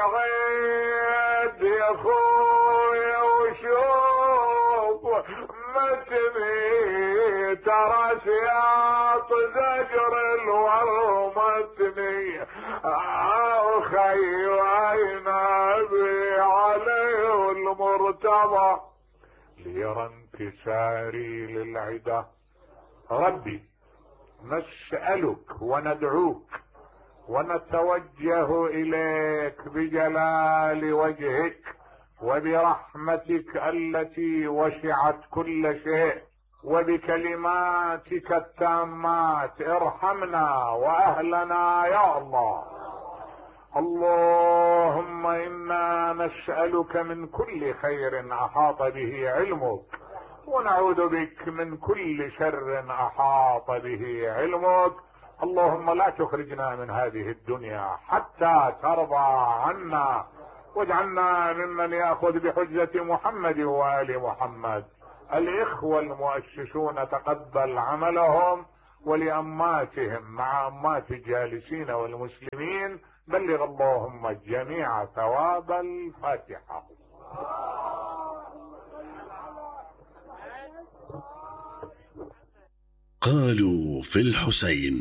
اقعد يا اخويا وشوف متني ترى سياط زجر الورمتني خي وعينابي عليه المرتضى ليرى انكساري للعدا. ربي نسألك وندعوك ونتوجه اليك بجلال وجهك وبرحمتك التي وسعت كل شيء وبكلماتك التامات ارحمنا واهلنا يا الله. اللهم انا نسألك من كل خير احاط به علمك ونعوذ بك من كل شر احاط به علمك. اللهم لا تخرجنا من هذه الدنيا حتى ترضى عنا واجعلنا ممن يأخذ بحجة محمد وآل محمد. الإخوة المؤسسون تقبل عملهم، ولأماتهم مع أمات الجالسين والمسلمين بلغ اللهم الجميع ثواب الفاتحة. قالوا في الحسين